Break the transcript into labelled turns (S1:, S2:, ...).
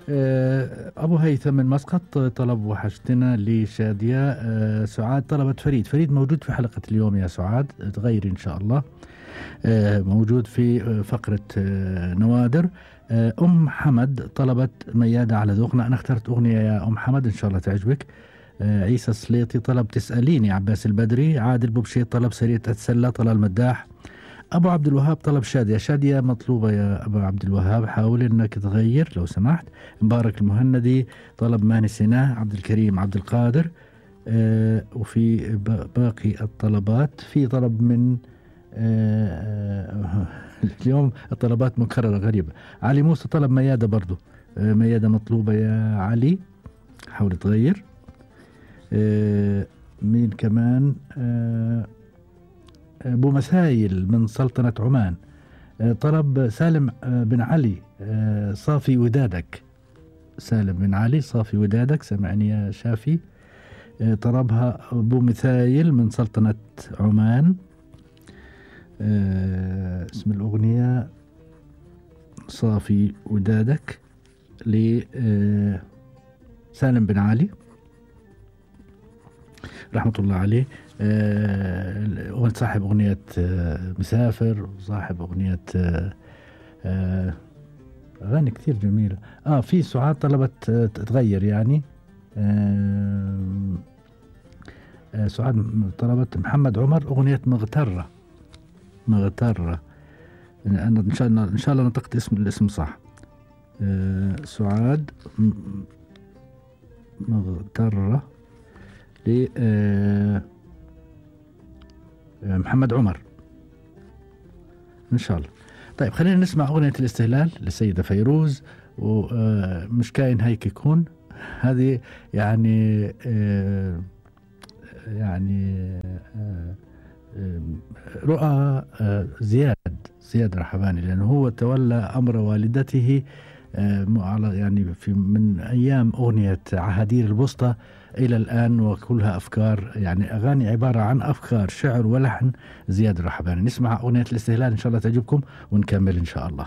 S1: أبو هيثم من مسقط طلب وحشتنا لشادية. سعاد طلبت فريد موجود في حلقة اليوم يا سعاد، تغيري إن شاء الله. موجود في فقرة نوادر. أم حمد طلبت ميادة على ذوقنا، أنا اخترت أغنية يا أم حمد إن شاء الله تعجبك. عيسى السليطي طلب تسأليني، عباس البدري. عادل بوبشيط طلب سرية أتسلى، طلال مداح. أبو عبد الوهاب طلب شادية مطلوبة يا أبو عبد الوهاب، حاول إنك تغير لو سمحت. مبارك المهندي طلب ما نسيناه. عبد الكريم عبد القادر. وفي باقي الطلبات في طلب من اليوم الطلبات مكررة غريبة. علي موسى طلب ميادة برضو. ميادة مطلوبة يا علي، حاول تغير. مين كمان؟ أبو مسايل من سلطنة عمان طلب سالم بن علي صافي ودادك. سالم بن علي صافي ودادك، سمعني يا شافي. طلبها أبو مثايل من سلطنة عمان. اسم الأغنية صافي ودادك لسالم بن علي رحمة الله عليه. صاحب أغنية مسافر، وصاحب أغنية أغاني كثير جميلة. في سعاد طلبت تغير يعني. سعاد طلبت محمد عمر أغنية مغترة. أنا إن شاء الله نطقت الاسم صح. سعاد مغترة محمد عمر إن شاء الله. طيب خلينا نسمع أغنية الاستهلال للسيدة فيروز، ومش كاين هيك يكون. هذه يعني رؤى زياد رحباني، لأنه هو تولى أمر والدته يعني من أيام أغنية عهادير البسطة إلى الآن، وكلها أفكار، يعني أغاني عبارة عن أفكار شعر ولحن زياد الرحباني. نسمع أغنية الاستهلال إن شاء الله تعجبكم ونكمل إن شاء الله.